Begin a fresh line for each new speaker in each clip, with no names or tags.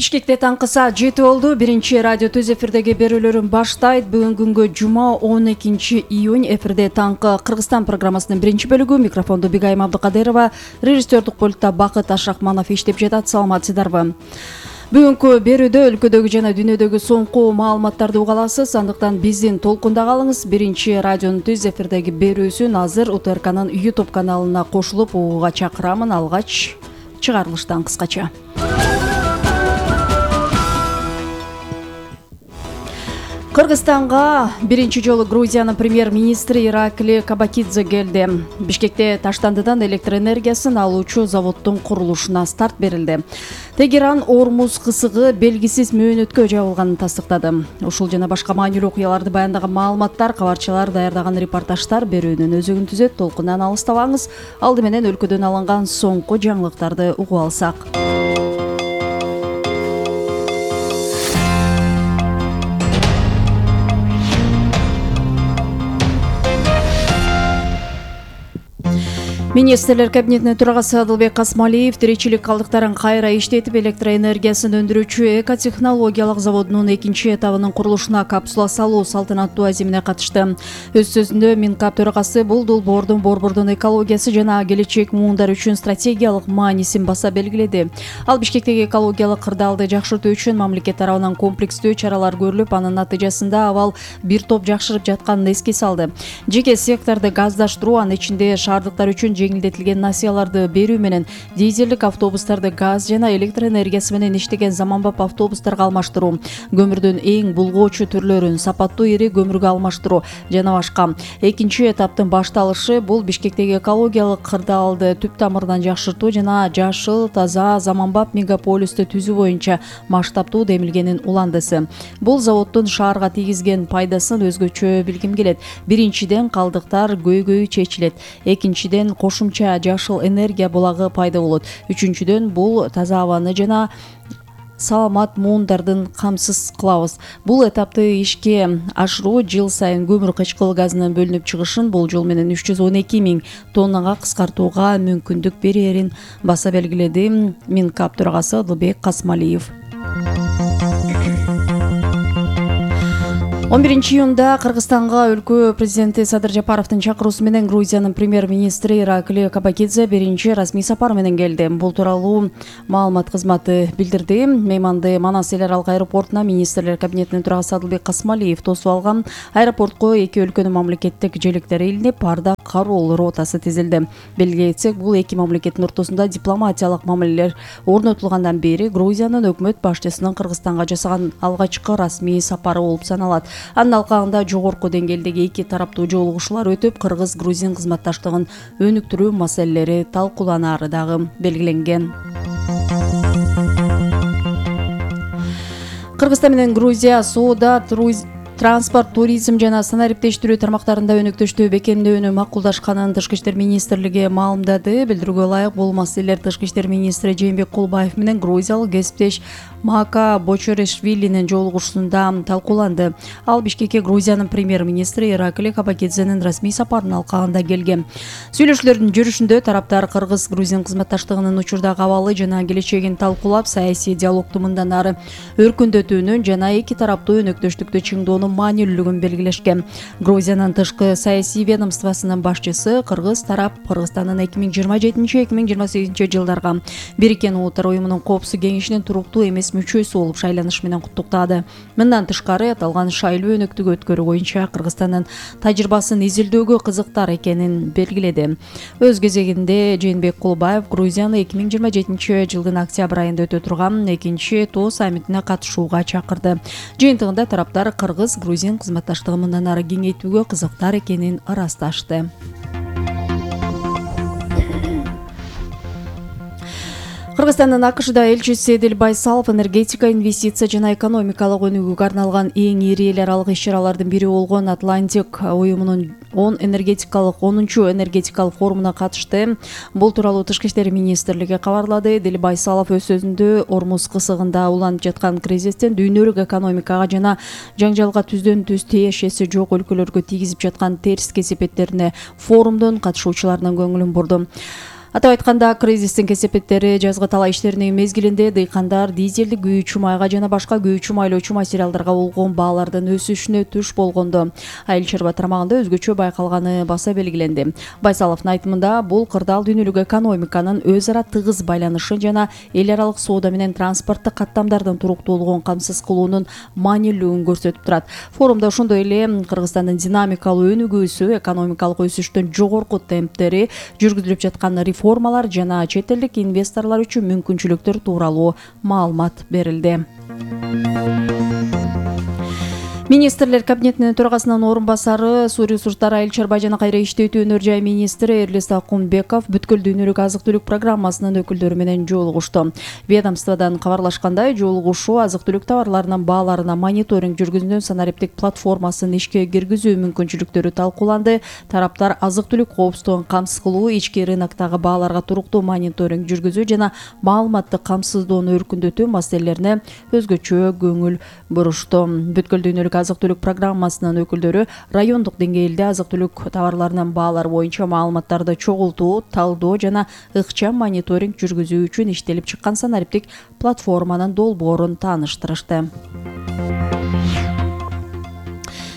Бишкекте таңкы саат 7 болду. Биринчи радио түз эфирдеги берүүлөрүн баштайт. Бүгүн күнгө жума 12 июнь. Эфирде таңкы Кыргызстан программасынын биринчи бөлүгү. Микрофондо Бигайым Абдыкадырова, режиссердик пультта Бакыт Ашрахманов иштеп жатат. Саламатсыздарбы? Бүгүнкү берүүдө өлкөдөгү жана дүйнөдөгү соңку маалыматтарды уга аласыз. Андыктан биздин толкунда калыңыз. Биринчи радионун түз эфирдеги берүүсүн азыр УТРКнын YouTube каналына кошулуп угууга чакырамын. Алгач чыгарылыштан кыскача. Кыргызстанга биринчи жолу Грузиянын премьер-министри Иракли Кабакидзе келди. Бишкекте Таштандыдан электр энергиясын алуучу заводдун курулушуна старт берилди. Тегеран Ормуз кысыгы белгисиз мөөнөткө жабылганын тастыктады. Ушул жана башка маанилүү окуяларды баяндаган маалыматтар, кабарчылар даярдаган репортаждар берүүнүн өзөгүн түзөт. Толкундан алыстабаңыз. Алды менен өлкөдөн алынган соңку жаңылыктарды угуп алсак. Министрлер кабинетинин төрагасы Адылбек Касмалиев тиричилик калдыктарын кайра иштетип, электроэнергиясын өндүрүүчү экотехнологиялык заводунун экинчи этабынын курулушуна капсула салуу салтанаттуу азимине катышты. Өз сөзүндө Минкап төрагасы бул долбоордун борбордун экологиясы жана келечек муундар үчүн стратегиялык маанисин баса белгиледи. Ал Бишкектеги экологиялык кырдаалды жакшыртуу үчүн мамлекет тарабынан комплекстүү чаралар көрүлүп, анын натыйжасында абал бир топ жакшырып жатканын эске салды. Жеке секторду газдаштыруу, анын ичинде шаардыктар үчүн жеңилдетилген насыяларды берүү менен дизелдик автобустарды газ жана электр энергиясы менен иштеген заманбап автобустарга алмаштыруу, көмүрдүн эң булгоочу түрлөрүн сапаттуу ири көмүргө алмаштыруу жана башка. Экинчи этаптын башталышы бул Бишкектеги экологиялык кырдаалды түп тамырынан жакшыртуу жана жашыл, таза, заманбап мегаполистти түзүү боюнча масштабтуу демилгенин уландысы. Бул заводдун шаарга тийгизген пайдасын өзгөчө билгим келет. Биринчиден, калдыктар көйгөйү чечилет. Экинчиден, кошумча жашыл энергия булагы пайда болот. Үчүнчүдөн, бул таза абаны жана саламат муундардын камсыз кылабыз. Бул этапты ишке ашыруу жыл сайын көмүр кычкыл газынын бөлүнүп чыгышын бул жол менен 312 000 тоннага кыскартууга мүмкүндүк берерин баса белгиледи Минкап төрагасы Адылбек Касмалиев. 11 июнда Кыргызстанга өлкө президенти Садыр Жапаровдун чакыруусу менен Грузиянын премьер-министри Иракли Кабакидзе биринчи расмий сапар менен келди. Бул тууралуу маалымат кызматы билдирди. Мейманды Манас эл аралык аэропортуна министрлер кабинетинин төрагасы Адылбек Касмалиев тосуп алган. Аэропортко эки өлкөнүн мамлекеттик желектери илинип, Арда кароол ротасы тизилди. Белгилей кетсек, бул эки мамлекеттин ортосунда дипломатиялык мамилелер орнотулгандан бери Грузиянын өкмөт башчысынын Кыргызстанга жасаган алгачкы расмий сапары болуп саналат. Анын алкагында жогорку деңгээлдеги эки тараптуу жолугушуулар өтүп, Кыргыз-Грузин кызматташтыгын өнүктүрүү маселелери талкууланары дагы белгиленген. Кыргызстан менен Грузия соода, транспорт, туризм жана санариптештирүү тармактарында өнөктөштүү бекемдөөнү макулдашканын Тышкы иштер министрлиги маалымдады. Билдирүүгө ылайык, бул маселелер Тышкы иштер министри Жээнбек Кулбаев менен грузиялык кесиптеш Мака Бочорешвилинин жолугушуусунда талкууланды. Ал Бишкекке Грузиянын премьер-министри Иракли Кабакидзенин расмий сапарынын алкагында келген. Сүйлөшүүлөрдүн жүрүшүндө тараптар Кыргыз-Грузин кызматташтыгынын учурдагы абалы жана келечегин талкуулап, саясий диалогду мындан ары өркүндөтүүнүн жана эки тараптуу өнөктөштүктү чыңдоонун маанилүүлүгүн белгилешкен. Грузиянын тышкы саясий ведомствосунун башчысы Кыргыз тарап Кыргызстандын 2027-2028 жылдарга Бириккен Улуттар уюмунун Коопсуздук кеңешинин туруктуу эмес мүчөсү болуп шайланыш менен куттуктады. Мындан тышкары, аталган шайлоо өнөктүгү өткөрүү боюнча Кыргызстандын тажрыйбасын изилдөөгө кызыктар экенин белгиледи. Өз кезегинде Жээнбек Кулбаев Грузияны 2027 жылдын октябрь айында өтө турган экинчи ТО саммитине катышууга чакырды. Жыйынтыгында тараптар Кыргыз-Грузин кызматташтыгын мындан ары кеңейтүүгө кызыктар экенин ырасташты. Кыргызстандын АКШда элчиси Эдил Байсалов энергетика, инвестиция жана экономикалык өнүгүүгө арналган эң ири эл аралык иш-чаралардын бири болгон Атлантик уюмунун 10-чу энергетикалык форумуна катышты. Бул тууралуу Тышкы иштер министрлиги кабарлады. Эдил Байсалов өз сөзүндө Ормуз кысыгында уланып жаткан кризистен дүйнөлүк экономикага жана жаңжалга түздөн түз тиешеси жок өлкөлөргө тийгизип жаткан терс кесепеттерине форумдун катышуучуларынын көңүлүн бурду. Атап айтканда, кризистин кесепеттери жазгы талаа иштеринин мезгилинде дыйкандар дизелдик күйүүчү майга жана башка күйүүчү майлоочу материалдарга болгон баалардын өсүшүнө туш болгондо айыл чарба тармагында өзгөчө байкалганы баса белгиленди. Байсаловдун айтымында, бул кырдаал дүйнөлүк экономиканын өз ара тыгыз байланышы жана эл аралык соода менен транспорттук каттамдардын туруктуулугун камсыз кылуунун маанилүүлүгүн көрсөтүп турат. Форумда ошондой эле Кыргызстандын динамикалуу өнүгүүсү, экономикалык өсүштүн жогорку темптери, жүргүзүлүп жаткан реформалар жана чет элдик инвесторлор үчүн мүмкүнчүлүктөр тууралуу маалымат берилди. Министрлер кабинетинин төрагасынын орун басары, суу ресурстары, айыл чарба жана кайра иштетүү өнөр жай министри Эрлис Акунбеков бүткүл дүйнөлүк азык-түлүк программасынын өкүлдөрү менен жолугушту. Ведомстводон кабарлашкандай, жолугушуу азык-түлүк товарларынын бааларына мониторинг жүргүзүүнүн санариптик платформасын ишке киргизүү мүмкүнчүлүктөрү талкууланды. Тараптар азык-түлүк коопсуздугун камсыз кылуу, ички рыноктогу бааларга туруктуу мониторинг жүргүзүү жана маалыматты камсыздоону өркүндөтүү маселелерине өзгөчө көңүл бурушту. Бүткүл дүйнөлүк азык-түлүк программасынын өкүлдөрү райондук деңгээлде азык-түлүк товарларынын баалары боюнча маалыматтарды чогултуу, талдоо жана ыкчам мониторинг жүргүзүү үчүн иштелип чыккан санариптик платформанын долбоорун тааныштырышты.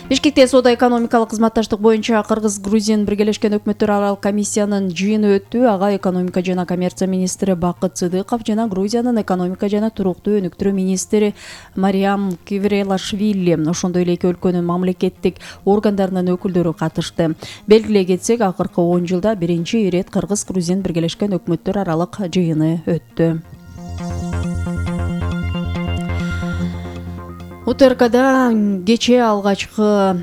Бишкекте соода-экономикалык кызматташтык боюнча Кыргыз-Грузин биргелешкен өкмөттөр аралык комиссиянын жыйыны өттү. Ага экономика жана коммерция министри Бакыт Сыдыков жана Грузиянын экономика жана туруктуу өнүктүрүү министри Мариам Квирелашвили, ошондой эле эки өлкөнүн мамлекеттик органдарынын өкүлдөрү катышты. Белгилей кетсек, акыркы 10 жылда биринчи ирет Кыргыз-Грузин биргелешкен өкмөттөр аралык жыйыны өттү. УТРКда кечээ алгачкы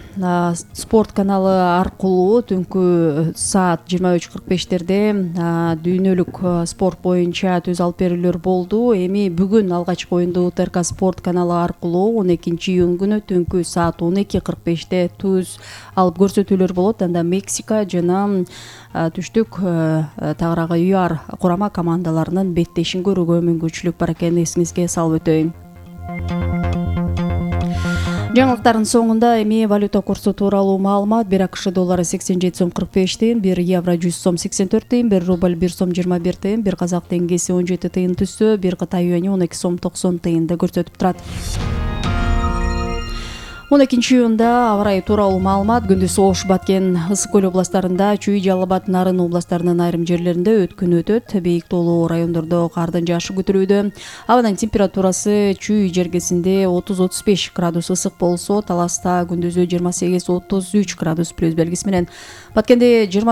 спорт каналы аркылуу түнкү саат 23:45 дүйнөлүк спорт боюнча түз алып берүүлөр болду. Эми бүгүн алгачкы оюнду УТРК спорт каналы аркылуу 12-июнь күнү түнкү саат 12:45 түз алып көрсөтүүлөр болот. Анда Мексика жана түштүк тагыраагы ЮАР курама командаларынын беттешин көрүүгө мүмкүнчүлүк бар экенин эсиңизге салып өтөйүн. Жаңылыктардын соңунда эми валюта курсу тууралуу маалымат. 1 АКШ доллары 87 сом 45 тыйын, 1 евро 100 сом 84 тыйын, 1 рубль 1 сом 21 тыйын, 1 казак теңгеси 17 тыйын түссө, 1 Кытай юани 12 сом 90 тыйынды көрсөтүп турат. 12-июнда аба ырайы тууралуу маалымат. Күндүз Ош, Баткен, Ысык көл областарында, Чүй, Жалал Абад, Нарын областарынын айрым жерлеринде өткүн өтөт. Бийик тоолуу райондордо кардын жаашы күтүлүүдө. Абанын температурасы Чүй жергесинде 30-35 градус ысык болсо, Таласта күндүзү 28-33 градус плюс белгиси менен, Баткенде